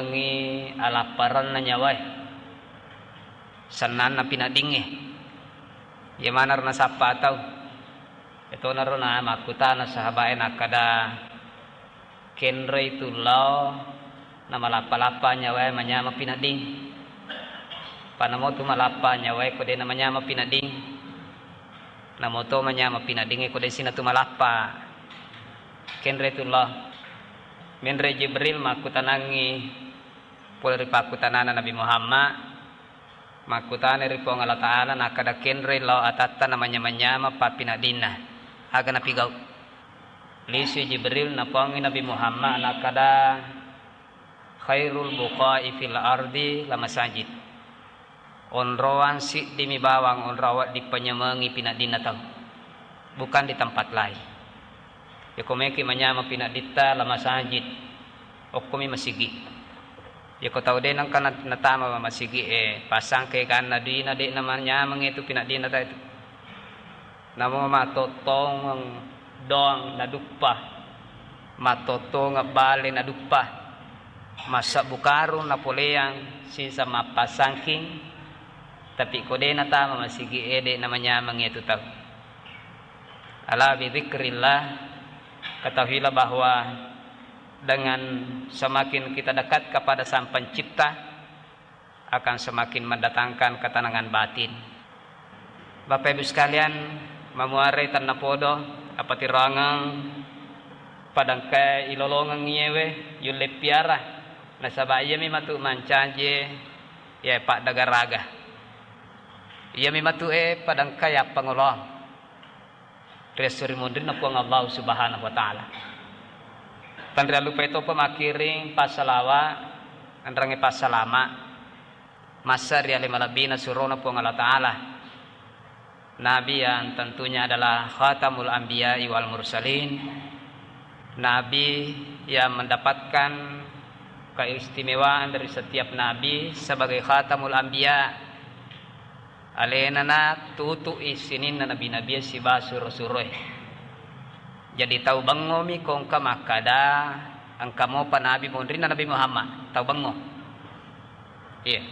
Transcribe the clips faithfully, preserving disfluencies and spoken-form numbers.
Ngi alapparanna nyawae, sennanna pinaddingnge. Iya manaro nasappa tau. Etonaro na makkutana sahabae nakkada, "Kenroi tu lao namalappa-lappa nyawae manyama pinadding. Panamotu malappa nyawae ko de namanyama pinadding. Namoto manyama pinaddingnge ko de sinatu malappa." Kenroi tu lao. Menre Jibril makkutanangngi pole ri pakkutanana Nabi Muhammad, makkutana ri Puang Allah Ta'ala, nakkada, "Kenroi lao atatta namanyama-nyama pappinaddinna. Aga napigau?" Lisui Jibril napuangngi Nabi Muhammad, nakkada, "Khairul buqa'i fil ardi la masajid." Onroang siddimi bawang onroang wedding panyamengi pinaddinna tau. Bukan di tempat lain. Yako meki manyama pinadditta la masajid. Okkomi masigi. Yako tau de nengka na-, natama masigi e, pasangke ganna duina de namanyameng itu pinaddinna tau itu. Namo matottongeng doang naduppa, matottongeng bale naduppa, massebbu karung napoleang sisa mappasangking, tapi ko de natama masigi e, de namanyameng itu tau. Ala bidzikrillah, ketahuilah bahwa dengan semakin kita dekat kepada Sang Pencipta, akan semakin mendatangkan ketenangan batin. Bapak Ibu sekalian, mamuarai tennapodo, apatiroangeng padangkae ilolongeng iyewe, yulle piara, nasaba iyami matu mancaji, iya, paddagaraga. Iyami matu e padangkae appangoloang. Ri esso ri munrinna Puang Allah Subhanahu wa Ta'ala. Tanriallupai topa makkiring passalawa, enrengnge passalama, massa ri ale malebbina surona Puang Allah Ta'ala. Nabi yang tentunya adalah khatamul anbiya'i wal mursalin. Nabi yang mendapatkan keistimewaan dari setiap nabi sebagai khatamul anbiya. Alenana tutu'i sininna nabi-nabie sibawa suro-suroe. Jadi tau bengngomi ko engka makkada, engka mopa nabi monrinna Nabi Muhammad, tau bengngo. Iya.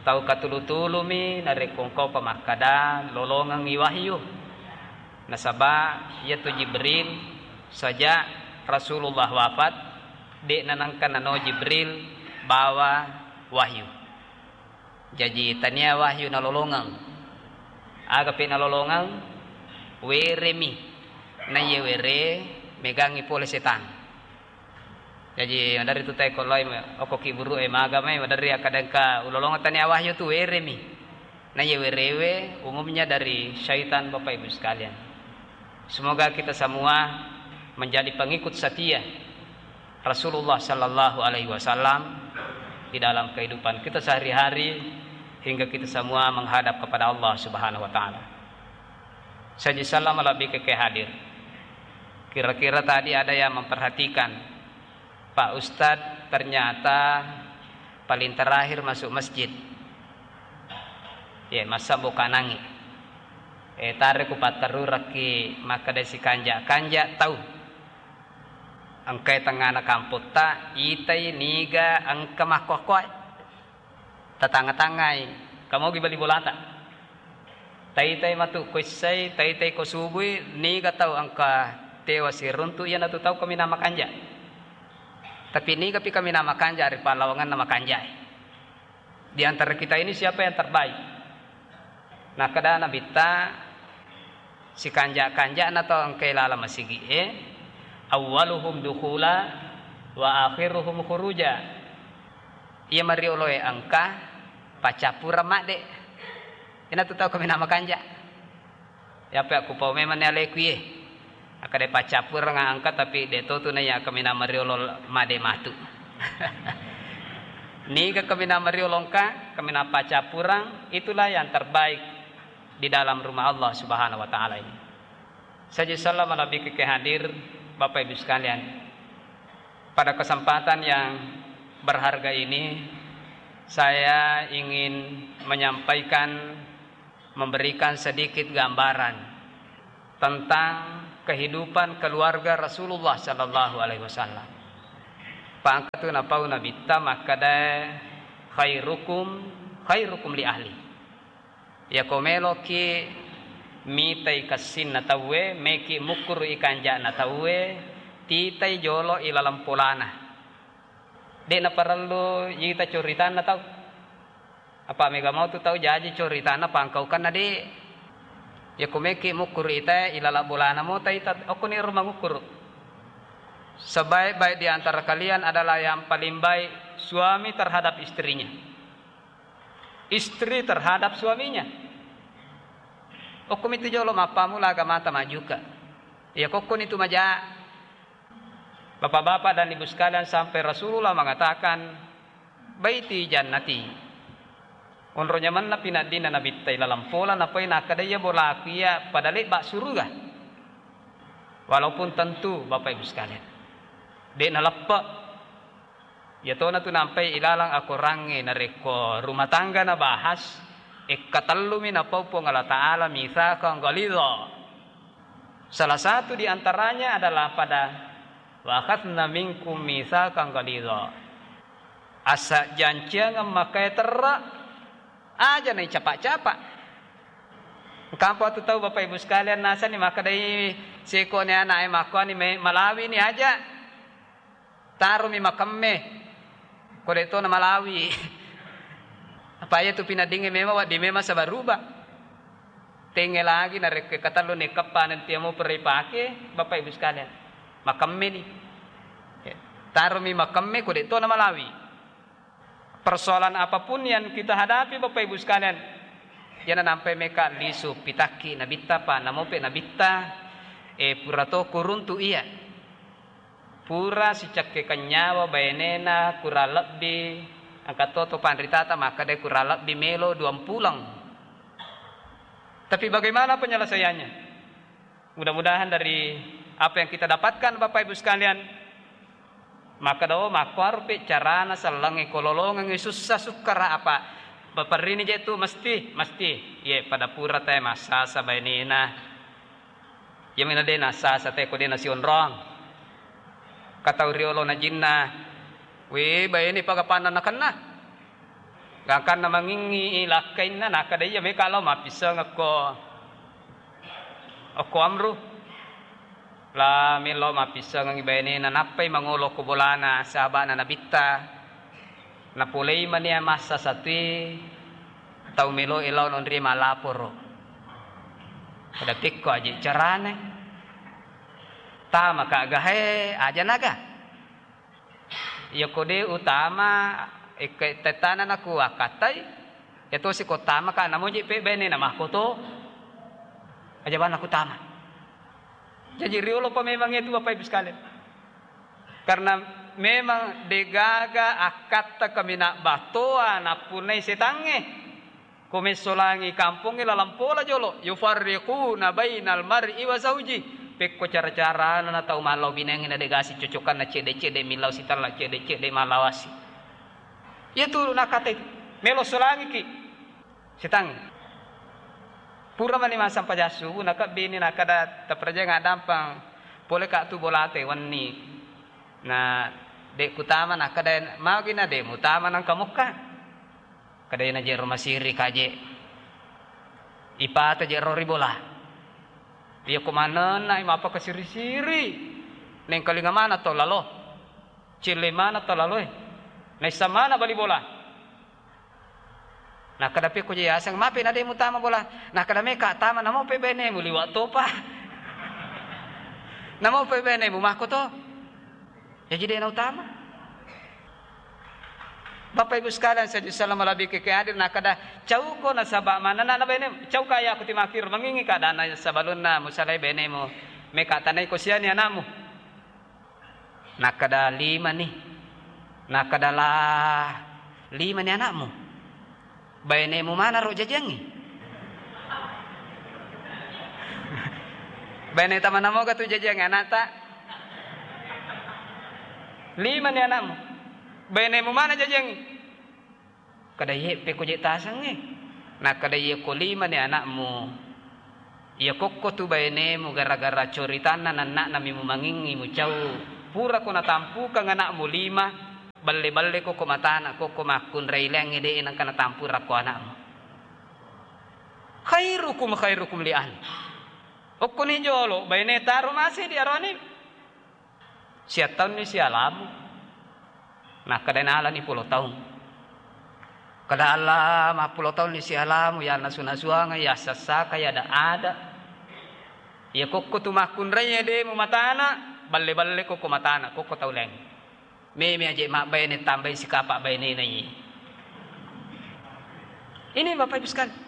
Tau katulu-tulumi narekko engka mopa makkada lolongengngi wahyu. Nasaba iyatu Jibril sajak Rasulullah wafat, de'na nengka nano Jibril bawa wahyu. Jaji tania wahyu nalolongeng. Agapi nalolongeng, weremi. Naiye were, megangngi pole setang. Jaji maderri tu tae ko loi, okko ki buru e maga mai, maderri akkadengka ulolongeng tania wahyu tu weremi. Naiye werewe umumnya dari syaitan, Bapak Ibu sekalian. Semoga kita semua menjadi pengikut setia Rasulullah sallallahu alaihi wasallam di dalam kehidupan kita sehari-hari hingga kita semua menghadap kepada Allah Subhanahu wa Ta'ala. Saji salam lebih ke hadir. Kira-kira tadi ada yang memperhatikan, Pak Ustadz ternyata paling terakhir masuk masjid. Ye, masa bukanangi. Eh, tare ku patterurakki makkeda sikanja-kanja tau. Engkai tengngana kampotta, itai niga engka makkoakkoai. Tatanga-tangai, kamogi bali bolata. Taitai matu ko essai, taitai ko subui, niga tau engka tewa siruntu iyanatu tau kaminang makanja. Tapi nigapi kaminang makanja ri pallawangenna makanjae. Di antara kita ini siapa yang terbaik? Nakkeda Nabitta, sikanja-kanjana tau engkae laleng masigi'e, awwaluhum dukhula wa akhiruhum khuruja. Iya marioloe engka, paccappureng madde. Inatu tau kaminang makanja. Yape akkupau memanni aleku iye. Akkeda paccappureng engka, tapi de to tu naiya kaminang mariolo madde matu. Niga kaminang mariolo engka, kaminang paccappureng, itulah yang terbaik di dalam rumah Allah Subhanahu wa Ta'ala ini. Saji salam lebih ke hadir, Bapak Ibu sekalian. Pada kesempatan yang berharga ini, saya ingin menyampaikan, memberikan sedikit gambaran tentang kehidupan keluarga Rasulullah sallallahu alaihi wasallam. Pangkatu napau Nabitta makkeda, "Khairukum, khairukum li ahli." Yako meloki mitai kessinna tauwe, meki mukkuru'i kanja'na tauwe, titai jolo ilaleng polana. De' naparellu yita coritanna tau. Apa mega mau tu tau jaji coritanna pangkaukanna de'. Yako meki mukkuru ita ilaleng bolana mo taita, okkoni ro mangukkuru. Sebaik-baik di antara kalian adalah yang paling baik suami terhadap istrinya. Istri terhadap suaminya. Okkomi tu jolo mappamula agamata majuka. Iya kokkoni tu maja. Bapak-bapak dan ibu sekalian, sampai Rasulullah mengatakan, "Baiti jannati." Onro nyamenna pinaddina Nabitta ilaleng pola, napoi nakkeda iya bolaku iya pada lebba suruga. Walaupun tentu, Bapak Ibu sekalian, de' naleppe. Iyatona tu nampai ilaleng akorangnge narekko rumah tangga nabahas, ekkatellumi napau Puang Allah Ta'ala mitsaqan ghalidha. Salah satu di antaranya adalah pada, "Wa akhadna minkum mitsaqan ghalidha." Asa janciangeng makkae terra, aja nai capa-capa. Engkampo tu tau, Bapak Ibu sekalian, nasani makkedai sekone ana'e makkuani me-, malawini aja. Taromi makemme, ko de' to namalawi. Apa iya tu pinaddingnge memang wedding memang sabaruba. Tenge lagi narekko katellu nekkeppa nanti amo pura ipake, Bapak Ibu sekalian. Makemme ni. Ya. Taromi makemme ko de' to namalawi. Persoalan apapun yang kita hadapi, Bapak Ibu sekalian, yana nampai meka lisu pitakki Nabitta, pa namope Nabitta, eh, pura to kuruntu iya. Pura sicakke kenyawa bainena kurang lebbi, engka to, to panritata makkeda kurang lebbi melo duampuleng. Tapi bagaimana penyelesaiannya? Mudah-mudahan dari apa yang kita dapatkan, Bapak Ibu sekalian, makkeda, "Oh, makkuaropi carana sellengnge ko lolongengngi sussa sukkara apa baperrini je tu mesti, mesti." Iye, pada pura tae massasa bainena. Iyami na de' nassasa te ko de' nasionrong. Katau riolo na jinna, "We, baine pagapanna nakenna." Gangkanna mangingngi lakkainna, nakkeda, "Iya meka lao mappissengekko okko Amru." La melo mappissengengngi bainena, nappai mangolo ko bolana sahaba'na Nabitta. Napolei mania massa satui tau meloe lao nonrie malaporo. Pada pekko aje carana. Tamaka gahae aja naga. Iya ko de' utama, ekka tettana naku akkattai, iya tosi ko tamaka namoji pe bainena makkoto. Aja bana ku tama. Jaji riolopa memang itu, Bapak Ibu sekalian. Karena memang degaga akkatta kaminang battoa nappunnai setangnge. Ko messolangi kampongnge lalang pola jolo, yufarriquna bainal mar'i wa zauji. Pekko cara-carana na tau mallau binengnge na degasi cocokanna, cedde-cedde millau sitella, cedde-cedde mallawasi. Iyatu nakkatai melo solangiki. Setang. Pura mani massempajang subuh, nakebbini nakkeda, "Taperjang addampeng, poleka tu bolate wenni." Na, "De' kutama," nakkeda, "Magi na de' mutama nangka mokka?" Kedai na jero masiri kaje. Ipata jero ri bola. Iya ko manenna i mapakasiri-siri. Nengkalinga mana to lalo. Celle mana to laloe. Naissa mana bali bola. Nakkeda pekko je yaseng, "Mape na de' mutama bola?" Nakkeda, "Meka tama, namope bainemu liwa' topa." "Namope bainemu makko to?" Jaji de' nautama. Bapak Ibu sekalian, saya salam lebih ke hadir, nakkeda, "Cauko nasaba' manenna na bainemu, cauka ya aku timakir, mangingi keadaanna sabalunna musalai bainemu, meka tanai ko siani anakmu." Nakkeda, "Lima ni." Nakkeda, "La, lima ni anakmu? Bainemu manaro jajiangngi?" Baine tama namoga tu jajiangngi anakta? Lima ni anakmu. Bainemu mana jajiangngi? Kada iye pekko je tasengnge. Nakkeda, "Iya ko lima ni anakmu, iya kokko tu bainemu gara-gara coritanna nanna'na mi mumangingngi mucau. Purako natampukang ana'mu lima, balle-balle ko ko matana, ko ko makkunrai leangnge de' nengka natampura ko ana'mu. Khairukum khairukum li ahli. Okkoni jolo, baine taro mase di aroni. Sia taunni sialamu. Nakkeda nalani pulo taung. Kada Allah mappulo taunni sialamu, ya nasu-nasuang, ya sassaka, ya ada-ada. Ya kokko tu makkunrai de' mu matana, balle-balle kokko matana, kokko tau laing. Meme aje mabbaine tambai sikapa bainena iye. Ini Bapak Ibu sekalian.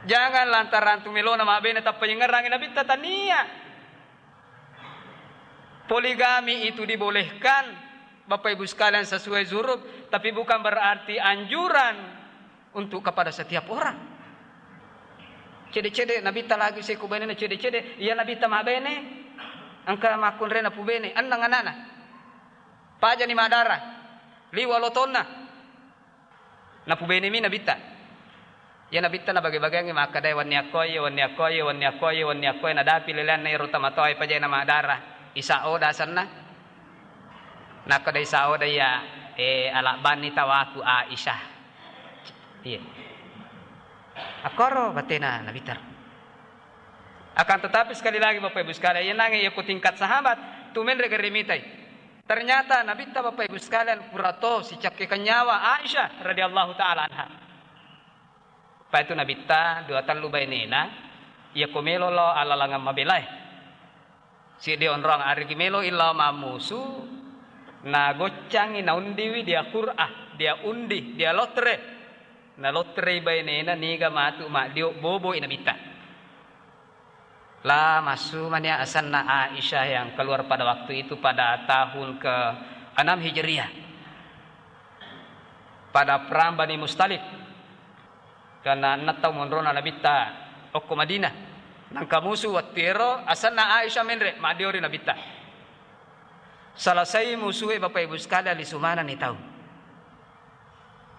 Jangan lantaran tu melona mabbaine tappa yengerangi Nabitta, tania. Poligami itu dibolehkan, Bapak Ibu sekalian, sesuai zuruf, tapi bukan berarti anjuran untuk kepada setiap orang. Cede-cede Nabitta lagi seko bainena cede-cede, iya Nabitta mabbaine, engka makkunrai napubene, enneng anana. Pajani madara, liwa lotonna. Napubenemi Nabitta. Iya Nabitta nabage-bageangngi makkeda, "Wenni akkoe, wenni akkoe, wenni akkoe, wenni akkoe." Nadapi leleanna ero tamatoae pajai namadara. Isa oda asenna. Nakkeda Isa oda, "Iya, eh, alabbanni tawaku Aisyah." Iya. Akkoro batena Nabitta. Akan tetapi, sekali lagi, Bapak Ibu sekalian, iyanangnge iya ko tingkat sahabat, tu menre gare mitai. Ternyata Nabitta, Bapak Ibu sekalian, purato sicakkekang nyawa Aisyah radhiyallahu ta'ala anha. Paitu Nabitta dua tellu bainena, iya ko melo lao alalangang mabelae. Siddi onrong arigi melo lao mammusu, nagoccangi naundiwi dia Qur'ah, dia undi, dia lotre. Nalotrei bainena niga matu maddio boboi Nabitta. La massu mania asenna Aisyah yang keluar pada waktu itu pada tahun ke enam Hijriah. Pada perang Bani Mustalik. Karena enneng tau monrona Nabitta okko Madinah. Nangka musu wettu ero asenna Aisyah menre maddiori Nabitta. Selesai musue Bapak Ibu sekalian lisu manenni tau.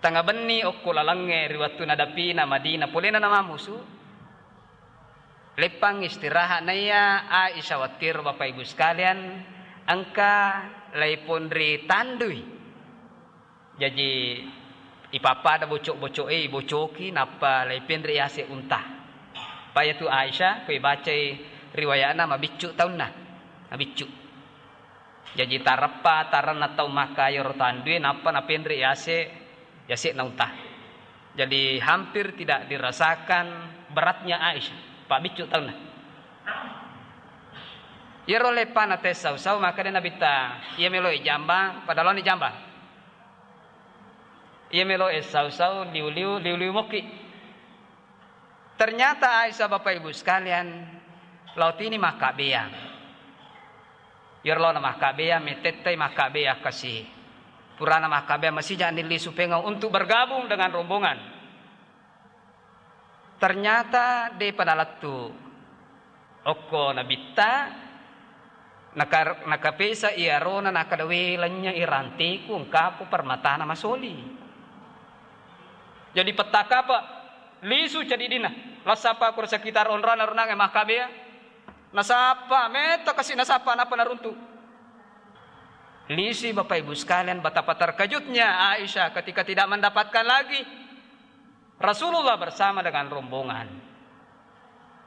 Tengnga benni okko lalengnge ri wettu nadapina Madinah, polena namammusu. Leppang istirahat naiya Aisyah wettu ero, Bapak Ibu sekalian, engka laiponri tandui. Jaji ipappada bocok-bocok e, ibocoki, nappa laipenre yase unta. Payatu Aisyah, ko ibacai riwayatna, mabiccu taunna, mabiccu. Jaji tareppa taranna tau Makkah iyaro tandue, nappa napenre yase, yase'na unta. Jadi hampir tidak dirasakan beratnya Aisyah, pabiccu taunna. Iyaro leppana tessau-sau, maka de Nabitta, iya melo e jambang, pada laoni jambang. Iya melo e sau-sau, liu-liu, liu-liu mokki. Ternyata Aisyah, Bapak Ibu sekalian, lao tini makkabbeang. Iyaro laona makkabbeang, mettettai makkabbeang kasi. Purana makkabbeang, masija'ni lisu pengau untuk bergabung dengan rombongan. Ternyata depa nalettu okko Nabitta, naka-, nakapesa iyarona, nakkeda, "We, lennye i ranteku, engkapo permatana masoli." Jadi pettakapa lisu cadiddinna, lassapa ko sekitar onrona runangnge makkabbeang, nasappa, metta kasi nasappa, nappa naruntu. Lisui Bapak Ibu sekalian, betapa terkejutnya Aisyah ketika tidak mendapatkan lagi Rasulullah bersama dengan rombongan.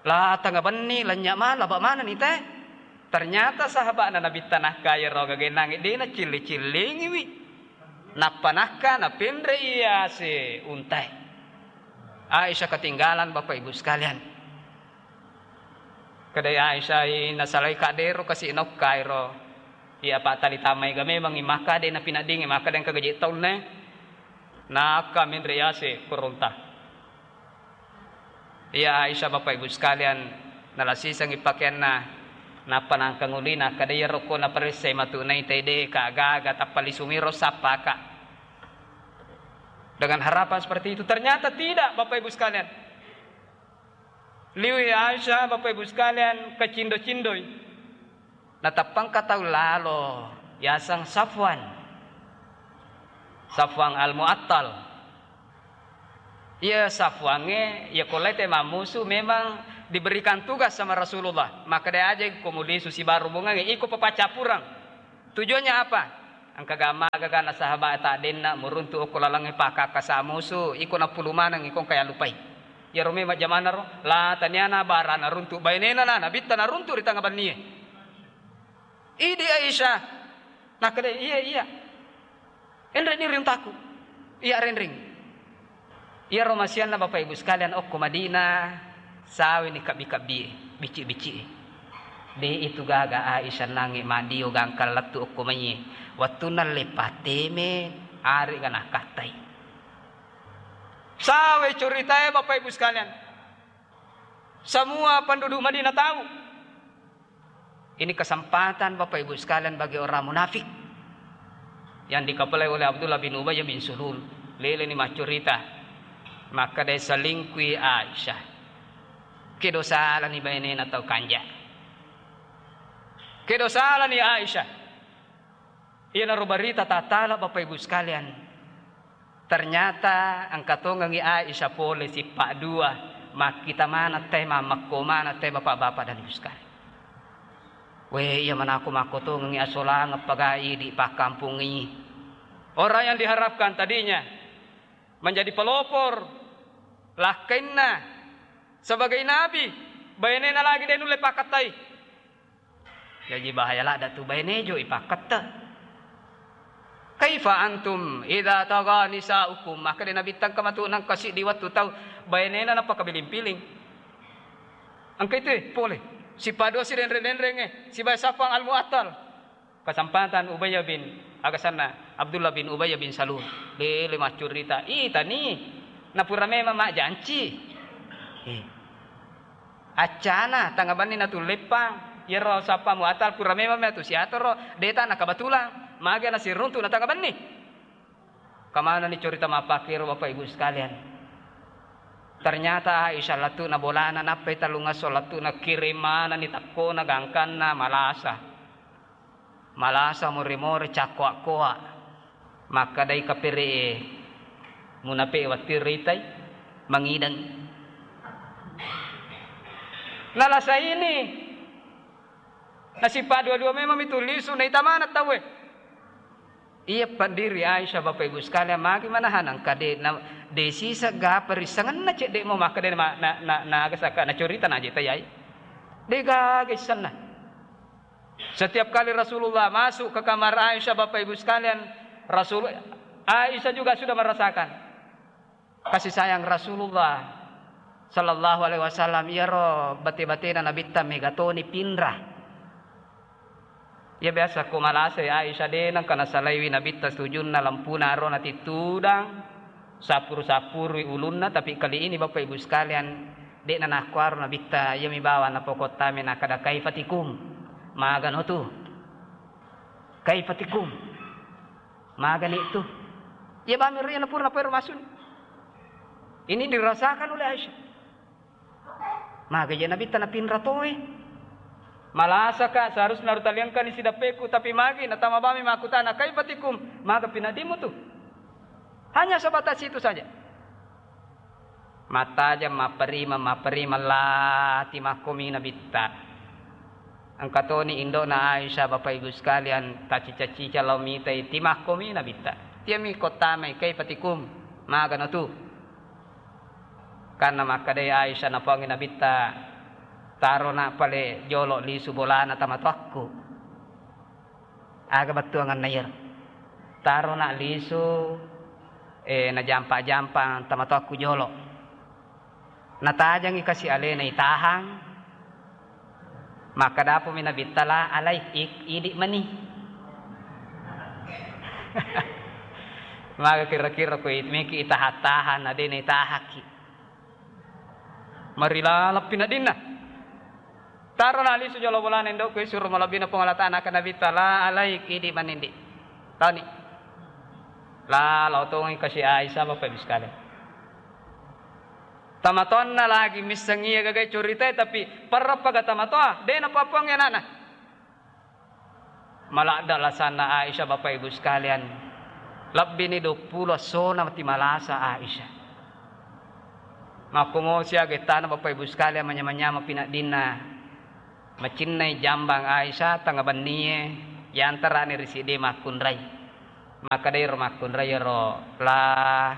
La tengnga benni, lennye ma, laba manenni te. Ternyata sahaba'na Nabitta nakka iyaro gagennangnge de nacilli-cillingiwi. Nappa nakka napenre iyase untae. Aisyah ketinggalan, Bapak Ibu sekalian. Kedai Aisyah i nasalai kaddero kasi nokkairo. Iya, Pak, tali tamai ga memang i maka de napinaddingi maka de engka gaji taunna. Nakka menre yase koronta. Iya, Aisyah, Bapak Ibu sekalian, nalasisengi pakeanna, nappa nangkanguli, nakkeda, "Iya rokko naparessai matu naitai de ka gaga, tappa lisumiro sappaka." Dengan harapan seperti itu, ternyata tidak, Bapak Ibu sekalian. Liwi Aisyah, Bapak Ibu sekalian, kacindo-cindoi. Nateppangka tau lalo, yaseng Safwan. Safwan Al-Mu'attal. Iya Safwangnge, iya ko lai te mammusu memang Diberikan tugas sama Rasulullah, makkeda aja ko mulisu sibawa rombongangnge, iko papaccappureng. Tujuannya apa? Engka gamma gaga na sahabat ta denna muruntu okko lalengnge pakakasa musu, iko nappulu maneng iko engka yallupai. Iyaro memang jamanna ro, la taniana bara naruntu bainena na nabitta naruntu ri tengnga bennie. Idi Aisyah. Nakkeda, "Iya, iya. Enreni ri untaku. Iya renreng." Iyaro masianna Bapak Ibu sekalian okko Madinah, saweni kabbi-kabbie, bicci-biccie. De itu gaga Aisyah nange madio gangkang lettu okko maiye. Wettunna le pateme, arega nakattai. Sawe ceritae Bapak Ibu sekalian. Semua penduduk Madinah tahu. Ini kesempatan Bapak Ibu sekalian bagi orang munafik yang dikepalai oleh Abdullah bin Ubay bin Sulul. Leleni maccurita. Makkeda selingkuhi Aisyah. Kedo salani bainena tau kanja. Kedo salani Aisyah. Iyanaro barita tatala Bapak Ibu sekalian. Ternyata engka tongengngi Aisyah pole sippa dua, makkita maneng te, mammekko maneng te, bapak-bapak dan ibu sekalian. We, iya manako makkotongengngi asolangeng pagai di pakkampungngi. Orang yang diharapkan tadinya menjadi pelopor lakkainna sebagai nabi, bainena lagi de nulle pakattai. Jaji bahaya ladda tu baine jo ipakketta. Kaifa antum idza tagha nisaukum? Maka de Nabi tangka matu nangka siddi wettu tau bainena napakabiling-piling. Engka itu pole. Sipado si denreng-denrenge, sibawa Safwan al-Mu'attal. Kesempatan Ubay bin, agasanna Abdullah bin Ubay bin Salul. Lele maccurita. Itani, napura memang majjanci. Eh. Accana, tengnga benni natulleppang. Iyaro Safwan Mu'attal pura memang matu siatoro, deta na kebetulan. Mage nasiruntu na tengnga benni. Kamanani cerita mappakiro Bapak Ibu sekalian. Ternyata Aisyah lettu na bolana nappai tellungesso lettu na kirim manani tekkona gangkanna malasa. Malasa more-more cakkoa-koa. Makkedai kapere'e, munape'e wattu ritai, mangideng. Nalasa ini. Nasippa dua-dua memang mitu lisu, naita maneng tauwe. Iya pendiri Aisyah, Bapak Ibu sekalian, magi manahan engka de, na, de sisa gapa risangenna cedde mo makkeda na, na, na, na, naga saka, na curita na jeta yai. De gaga isenna. Setiap kali Rasulullah masuk ke kamar Aisyah, Bapak Ibu sekalian, Rasul, Aisyah juga sudah merasakan kasih sayang Rasulullah sallallahu alaihi wasallam. Iyaro bate-batena Nabitta mega toni pinra. Iya biasa ko malasai Aisyah de nengka nasalaiwi Nabitta sujunna lampuna ro natittudang. Sappuru-sappurui ulunna, tapi kali ini Bapak Ibu sekalian, de'na nakkuaro Nabitta, iyami bawang napokottamai nakkeda, "Kaifa tikum?" Magano tu? "Kaifa tikum?" Magani tu? Iya bami ro iya napura napoero masuni. Ini dirasakan oleh Aisyah. Maga je Nabitta napinra toe. Malasaka, seharusna rutaliangkani sidappeku, tapi magi natama bami makkutana, "Kaifa tikum?" Maga pinaddimu tu? Hanya sebatas itu saja. Mattajang, mapperimeng, mapperimeng, lati makkomi Nabitta. Engka toni indo'na Aisyah, Bapak Ibu sekalian, tacicang-cicang lao mitai, timakkomi Nabitta. Tiami kottamai, "Kaifa tikum?" Magano tu? Kanna makkedai Aisyah napoangngi Nabitta, "Tarona pale jolo lisu bolana tamatoakku." Aga bettuanganna iyaro? "Tarona lisu, eh, najampa-jampa tamatoakku jolo." Natajangi kasi alena itahang, Makkadapumi Nabitta, "La alaik, ik-, idi mani." Maga kira-kira ko it-, meki itaha-taha na de naitahaki. Marilalappi na dinna. Taro na lisu jolo bolana indokku, isuro malebbina Puang Allah Ta'ala, naka Nabitta, "La alaik, idi mani ndi." Tani. La, lao tongi kasi Aisyah, Bapak Ibu sekalian. Tamatoanna lagi misseng iya gagai curitae, tapi parrappaga tamatoa, de napapuangngi anakna. Maladda lasanna Aisyah, Bapak Ibu sekalian. Lebbini duappulo essona mati malasa Aisyah. Makkomo siaga ettana, Bapak Ibu sekalian, manyameng-nyameng pinaddinna macinnai jambang Aisyah tengnga bennie, yantarani ri siddi makkunrai. Makkedai ro makkunrai ro, "La,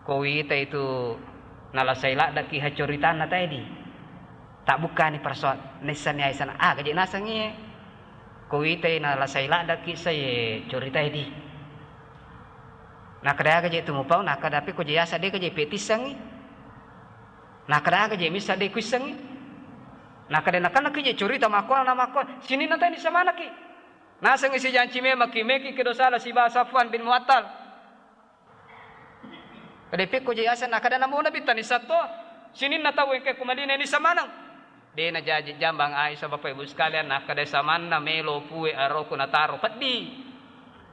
ko wita itu nalasai laddaki ha coritanna taedi. Tabbukkani persoal, naissani Aisyah na aga je nasengngi. Ko witai nalasai laddaki sai coritaedi." Nakkeda aga je tu mupau, nakkeda pe ko je yaseng de ga je petissengngi. Nakkeda aga je missa de kuissengngi. Nakkeda nakanna ki je curita makkola na makkola, sininna tani samanaki. Nasengngi sijanci memang ki meki kedo sala siba Safwan bin Muattal. Kade pekko je yaseng, nakkeda namo Nabitta nissatto, sininna tau engke ku Madinah nissa maneng. De najaji jambang Aisyah, Bapak Ibu sekalian, nakkeda samanna melo pue aroku nataro peddi.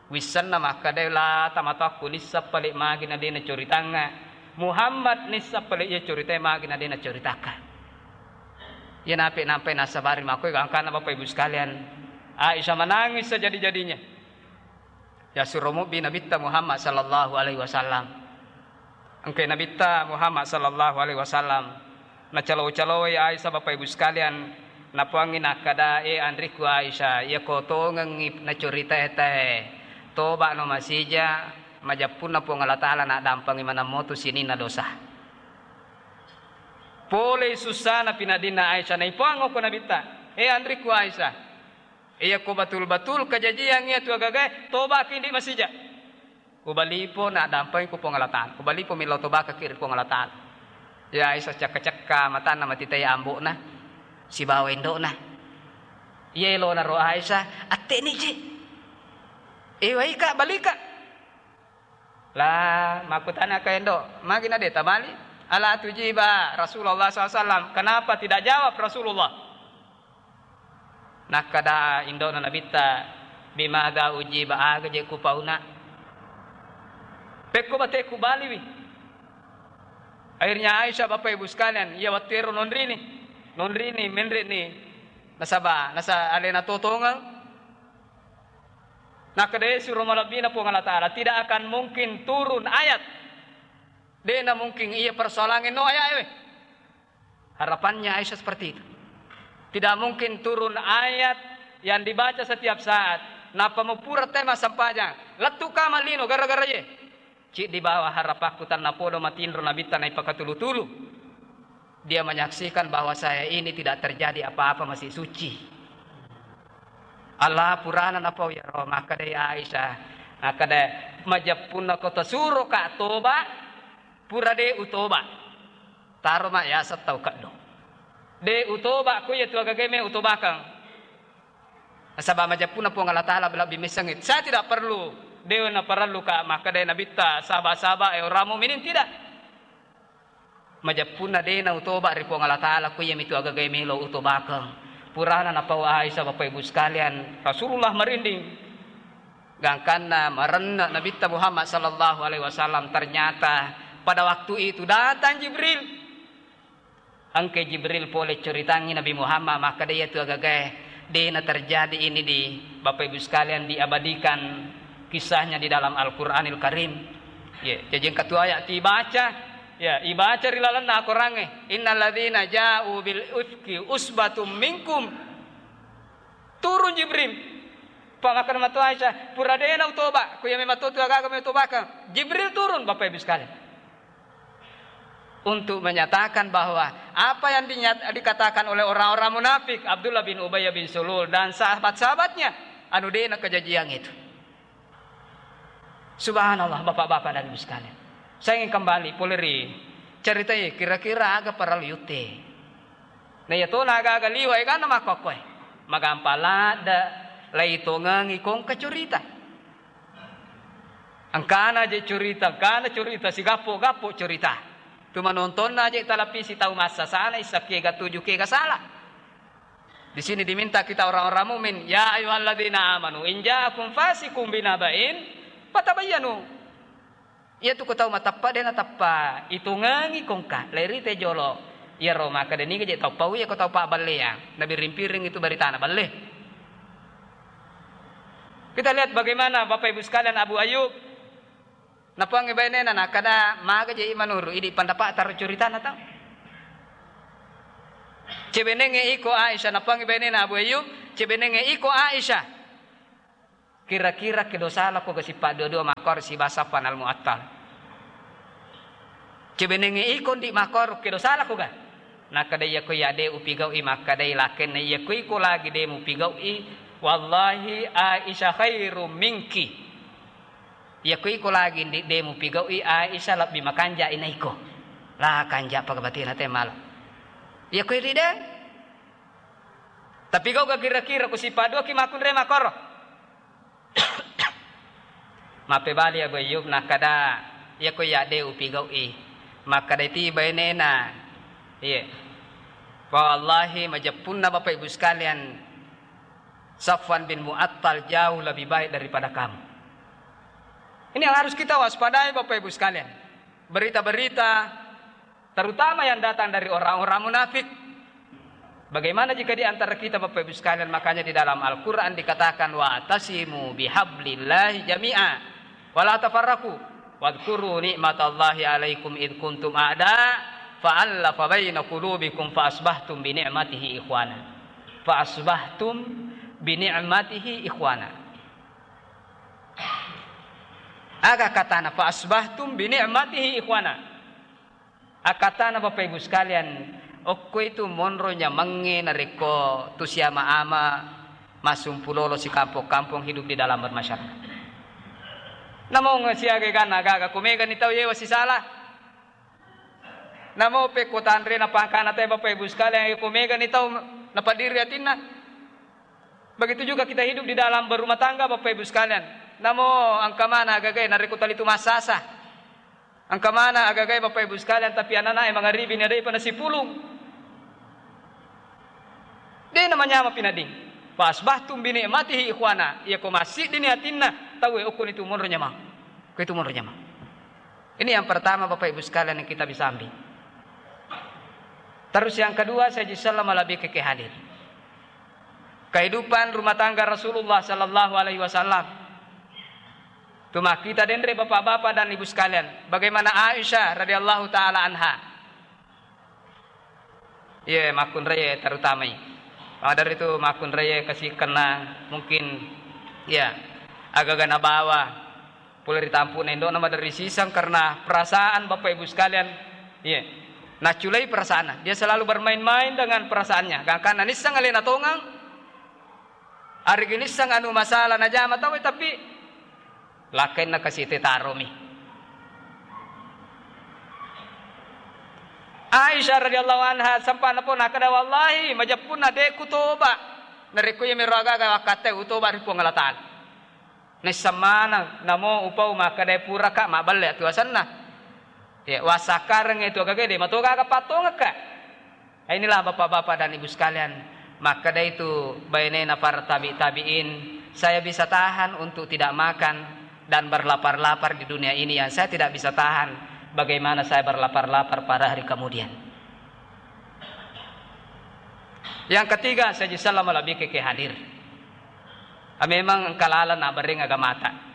Wissenna makkeda la tamatoakku nissa pale magi na de nacoritangnga. Muhammad nissa pale iya coritai magi na de nacoritakka. Iya nape nampai nasabari makkoe gangkanna, Bapak Ibu sekalian. Aisyah menangis sejadi-jadinya. Yasuro mubbi Nabitta Muhammad sallallahu alaihi wasallam. Engkai Nabitta Muhammad sallallahu alaihi wasallam nacalo-caloi Aisyah, Bapak Ibu sekalian, napoangngi nakkeda, "E anrikku Aisyah, iyako tongengngi nacuritae tae, toba'no masija, majeppunna Puang Allah Ta'ala naddampengi maneng motu sininna dosa." Polei sussana pinaddinna Aisyah, naipoang okko Nabitta, "E anrikku Aisyah, iyako batul-batul kajajiang iya tu agagae, toba'ki ndi masija." Ubalipo naddampengi ku Puang Allah Ta'ala. Ubalipo millau tobakaki ri Puang Allah Ta'ala. Ya Aisyah cekka-cekka matanna matitai ambo'na sibawa indo'na. Iya elona ro Aisyah, "Atte'ni ji. Ewaika, balika." La, makkutanaka indo, "Magi na de tabali? Ala tujiba Rasulullah sallallahu alaihi wasallam. Kenapa tidak jawab Rasulullah?" Nakkeda indo'na Nabitta, "Bimadza ujiba, aga je kupauna? Pekko bate kubaliwi." Akhirnya Aisyah, Bapak Ibu sekalian, iya wettu ero nonrini. Nonrini, menre'ni. Nasaba, nasa alena totongeng. Nakkeda suro malebbina Puang Allah Ta'ala, tidak akan mungkin turun ayat. De'na mungkin iya persoalangnge no ayat ewe. Harapannya Aisyah seperti itu. Tidak mungkin turun ayat yang dibaca setiap saat. Nappa mupura te massempajang, lettu kama lino gara-gara ye. Ciddi bawa harapakku tannapodo matinro Nabitta naipakatulu-tulu. Dia menyaksikan bahwa saya ini tidak terjadi apa-apa, masih suci. Allah purana napau yaro, makkeda Aisyah, makkeda, "Majeppunna ko tasuroka toba, pura de utoba. Taro ma yaseng tau keddo. De utoba, ko iya tu agagae me utobakang." Nasaba majeppunna Puang Allah Ta'ala lebbi messengngi. Saya tidak perlu, de'na parellu ka makkeda Nabitta, saba-saba, eh, orang mukminin, tidak. Majeppunna de'na utoba ri Puang Allah Ta'ala, ko iyami tu agagae melo utobakeng. Purana napau Aisyah, Bapak Ibu sekalian, Rasulullah merinding. Gangkanna marenne Nabitta Muhammad sallallahu alaihi wasallam, ternyata pada waktu itu datang Jibril. Engkai Jibril pole curitangngi Nabi Muhammad, makkeda iya tu agagae de'na terjadi ini di, Bapak Ibu sekalian, diabadikan kisahnya di dalam Al-Quranil Karim. Ya, jadi engka tu ayat tibaca, ya, ibaca ri lalenna akorangnge, "Innalladzina ja'u bil ifki usbatum minkum." Turun Jibril. Pak, makkeda matu Aisyah, "Pura de'na utoba, ko iya memang tu agaga me utobakang." Jibril turun, Bapak Ibu sekalian. Untuk menyatakan bahwa apa yang dinyat-, dikatakan oleh orang-orang munafik, Abdullah bin Ubay bin Salul dan sahabat-sahabatnya, anu de'na kejadian itu. Subhanallah, Bapak-bapak dan Ibu sekalian. Saya ingin kembali pole ri ceritai kira-kira aga parellu yutte. Na iya tona aga-aga liwa eganna makkokkoe. Magampa ladde, laitongengi kongka curita. Engkana je curita, engkana curita, sigappo-gappo curita. Tu manontonna je talapisi tau massasana, issa kega tuju, kega sala. Di sini diminta kita orang-orang mukmin, "Ya ayyuhalladzina amanu in ja'akum fasiqun binaba'in fatabayyanu." Iya tu ko tau mateppa de nateppa itungengi kongka, lairitei jolo. Iyaro makkeda niga je tau pau iya ko tau pabballeang, nabiring-piring itu baritana balle. Kita lihat bagaimana Bapak Ibu sekalian Abu Ayyub Napuangngi bainena nakkeda, "Maga je i manuru, idi pendapat taro curitana tau." Cebenengnge iko Aisyah, napuangngi bainena Abu Ayyub, cebenengnge iko Aisyah. Kira-kira kedo salako ga sippa dua-dua makkoro siba Safwan al-Mu'attal? Cebenengnge iko ndi makkoro kedo salako ga? Nakkeda, "Iyako iya de upigau'i," makkedai lakenna, "Iyako iko lagi de mupigau'i, wallahi Aisyah khairum minki." Iyako iko lagi ndi de mupigau'i, Aisyah lebbi makanja ina iko. La kanja pagabatina te mala. Iyako idi de. Tapi gau ga kira-kira ku sippa dua ki makunre makkoro. Mappebali Abu Ayyub nakkeda, "Iyako iya de upigau'i." Makkeda ti bainena, "Iye. Fa wallahi majeppunna Bapak Ibu sekalian, Safwan bin Mu'attal jauh lebih baik daripada kamu." Ini yang harus kita waspadai, Bapak Ibu sekalian. Berita-berita, terutama yang datang dari orang-orang munafik. Bagaimana jika di antara kita, Bapak Ibu sekalian, makanya di dalam Al-Quran dikatakan, "Wa'tasimu bihablillahi jami'a, wa la tafarraqu, wadhkuru ni'matallahi alaikum idh kuntum a'da, fa'allafa baina qulubikum fa asbahtum bi ni'matihi ikhwana." Fa asbahtum bi ni'matihi ikhwana. Aga katana, "Fa asbahtum bi ni'matihi ikhwana." Akkatana, Bapak Ibu sekalian, okko itu monro nyamangnge narekko tusiama-ama massumpulolo sikampong-kampong hidup di dalam bermasyarakat. Namong siaga ganna gaga kumegani tau yewa sisala. Namo pekko tanre napangkana te, Bapak Ibu sekalian, ko megani tau napadiri atinna. Begitu juga kita hidup di dalam berumah tangga, Bapak Ibu sekalian. Namo engka mana agagai narekko talitu massasa. Engka mana agagai, Bapak Ibu sekalian, tapi ananae mangaribi ni adai pa nasipulung. De namanyama pinadding. Fa asbahtum bi ni'matihi ikhwana. Iya ko massiddini atinna tauwe, okkoni tu monro nyamang. Ko itu monro nyamang. Ini yang pertama, Bapak Ibu sekalian, yang kita bisa ambil. Terus yang kedua, saya jisalla malabbi ke hadir. Kehidupan rumah tangga Rasulullah sallallahu alaihi wasallam. Tuma kita denre bapak-bapak dan ibu sekalian, bagaimana Aisyah radhiyallahu taala anha. Iye, makkunraie terutamai. Pada ritu makkunraie kasi kenna mungkin, ya, agaga nabawa pole ri tampu'na indo'na maderri siseng karena perasaan, Bapak Ibu sekalian. Iye. Nacculai perasaanna. Dia selalu bermain-main dengan perasaannya. Gangkanna nisseng alena tongang, arigi nisseng anu masalah najama tau, tapi lakkainna kasi tetaromi. Aisyah radhiyallahu anha sampana pona kada, "Wallahi, majeppunna de kutoba. Narekko iya mero agaga wakkatte utoba ri Puang Allah Taala." Naisseng maneng, namo upau makkeda puraka mabballe atuasenna. Ya, wassakkareng itu agaga de mato gaga pattongekka. Inilah Bapak-bapak dan Ibu sekalian, makkeda itu bainena para tabi-tabiin, "Saya bisa tahan untuk tidak makan dan berlapar-lapar di dunia ini, yang saya tidak bisa tahan, bagaimana saya berlapar-lapar pada hari kemudian." Yang ketiga, saya jisalla malabbi ke hadir. Ah, memang engka laleng nabereng agamata.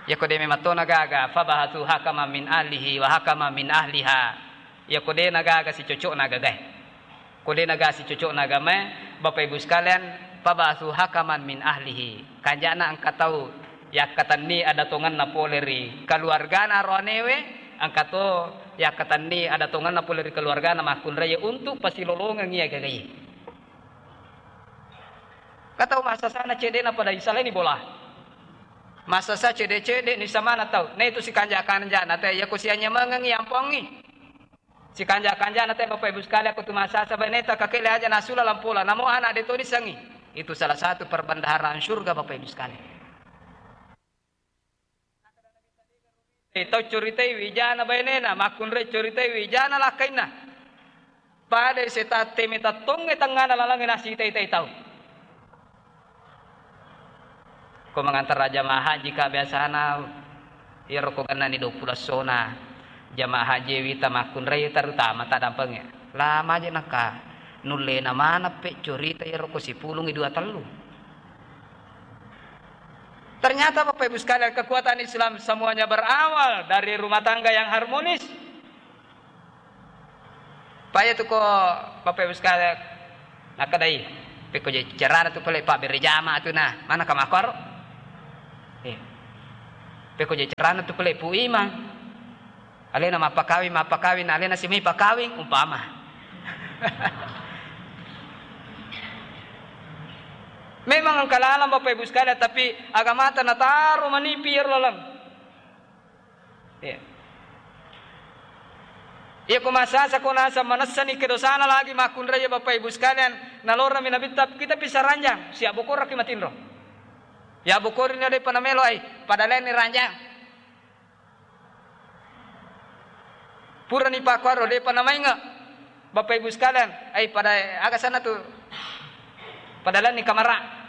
Yako de memang tona gaga, fabahatsu hakaman min ahlihi wa hakaman min ahliha. Yako de nagaga sicocokna gagae. Ko de nagaga sicocokna agamae, Bapak Ibu sekalian, fabahatsu hakaman min ahlihi. Kanjana engka tau yakkatenni ada tongenna pole ri keluargana aroanewe, engka to yakkatenni ada tongenna pole ri keluargana makkunraie untuk pasilolongengi agagae. Katau massasana cedde'na pada isalaini bola. Massasa cedde-cedde ni samana tau. Na itu sikanja-kanjana te, yako sianyamengengi ampongi. Sikanja-kanjana te, Bapak Ibu sekalian, ko tu massasa baineta kakele aja nasula lampola. Namo anak de to nisengi. Itu salah satu perbendaharaan surga, Bapak Ibu sekalian. Eh, tau curitai wijana bainena, makkunrai curitai wijana lakkainna. Pada setang teme tattongnge tengngana lalangnge nasitai-tai tau. Ko mangantara jamaah haji ka biasana, iyaro ko gennani duappulo essona jamaah haji wita makkunrai, terutama tadampengnge. Lama je naka nullena maneng pe curita iyaro ko sipulungi dua tellu. Ternyata, Bapak Ibu sekalian, kekuatan Islam semuanya berawal dari rumah tangga yang harmonis. Paya tu ko, Bapak Ibu sekalian, nakadai, pekko je carana tu pale pabbere jama tu na, mana ka makor? Eh. Pekko je carana tu pale Pu Imang. Alena mappakawing, mappakawing, alena simai pakawing, umpama. Memang engka lalang, Bapak Ibu sekalian, tapi agamata nataro manipi iyaro lalang. Iya. Iya, ko masasa ko nasa manessani kedosana lagi makkunrai, Bapak Ibu sekalian, nalorami Nabitta, kita bisa ranjang, siabbokoraki matinro. Ya bokori ni depa namelo ai, pada lainni ranjang. Purani pakkuaro, depa namainge. Bapak Ibu sekalian, ai pada aga sana tu, pada lainni kamara.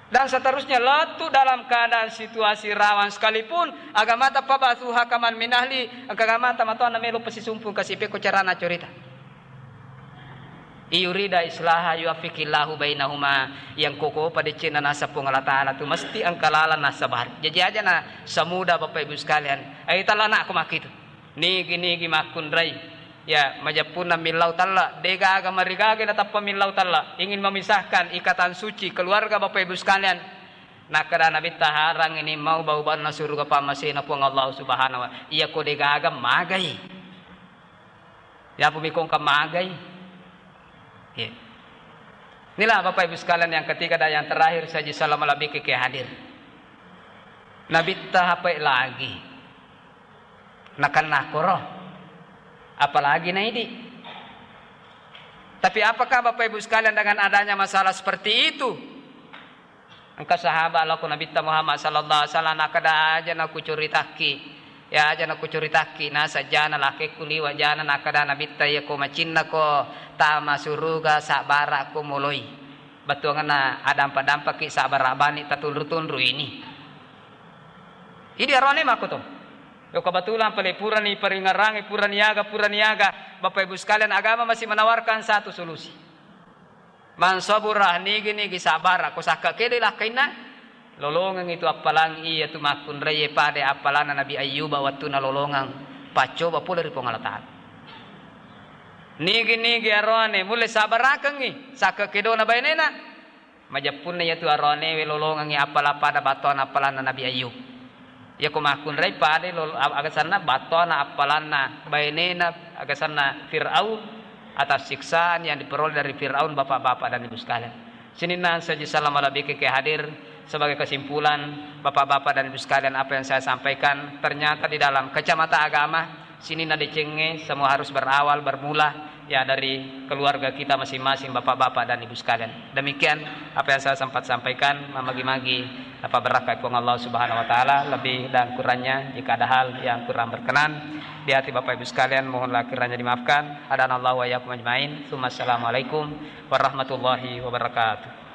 Dan seterusnya, lettu dalam keadaan situasi rawan sekalipun, agamata pabasuha kaman minahli, engka agamata matoanna melo pesisumpung kasi pekko carana corita. Iyurida islaha yuwaffiqillahu bainahuma, yang koko padecenna nasa Puang Allah Ta'ala tu mesti engka lalang nasabari. Jaji aja na semudah, Bapak Ibu sekalian, ai tala anakku makkitu. Nigi-nigi makkunrai. Ya, majeppunna millau talla, degaga marigaga natappa millau talla. Ingin memisahkan ikatan suci keluarga, Bapak Ibu sekalian. Nakkeda Nabitta, harang ini mau bau-baunna suruga pammasena Puang Allah Subhanahu wa. Iya ko degaga magai. Yapo mikongka magai. Iya. Inilah Bapak Ibu sekalian yang ketiga dan yang terakhir, saji salama labiki ke hadir. Nabitta hapai lagi. Nakenna koro. Apalagi naidi. Tapi apakah Bapak Ibu sekalian dengan adanya masalah seperti itu? Engka sahabat lao ko Nabitta Muhammad sallallahu alaihi wasallam, nakkeda, aja nakucuritakki, ya, aja nakucuritakki, naseng jana lakekku liwa jana, nakkeda Nabitta, iya ko macinnako tama suruga, sabbarakko moloi. Bettuangenna adampa-dampaki, sabbara bani tatunru-tunru ini. Idi arone makkoto. Yo kebetulan pale purani paringerangi, purani aga, purani aga, Bapak Ibu sekalian, agama masih menawarkan satu solusi. Man sabura, nigi-nigi sabbara, ko sakka kedo lakkainna, lolongeng itu appalang iya tu makkunraie pada appalanna Nabi Ayyuba wettunna lolongeng paccoba pole ri Puang Allah Ta'ala. Nigi-nigi aroane mulle sabbarakengngi sakka kedona bainena, majeppunna iya tu aroanewe lolongengngi appalang pada battoana appalanna Nabi Ayyub. Iyako makkunrai pada lolo-, a-, agasanna battoana appalanna bainena agasanna Fir'aun atas siksaan yang diperoleh dari Fir'aun, Bapak-bapak dan Ibu sekalian. Sininna saji salam malebbi ke hadir. Sebagai kesimpulan, Bapak-bapak dan Ibu sekalian, apa yang saya sampaikan ternyata di dalam kacamata agama, sininna decengnge semua harus berawal, bermula ya dari keluarga kita masing-masing, Bapak-bapak dan Ibu sekalian. Demikian apa yang saya sempat sampaikan, mamagi-magi apa berkah Puang Allah Subhanahu wa Ta'ala, lebih dan kurangnya jika ada hal yang kurang berkenan di hati Bapak Ibu sekalian, mohonlah kiranya dimaafkan. Hadanallahu wa iyyakum ajmain. Tsumma assalamualaikum warahmatullahi wabarakatuh.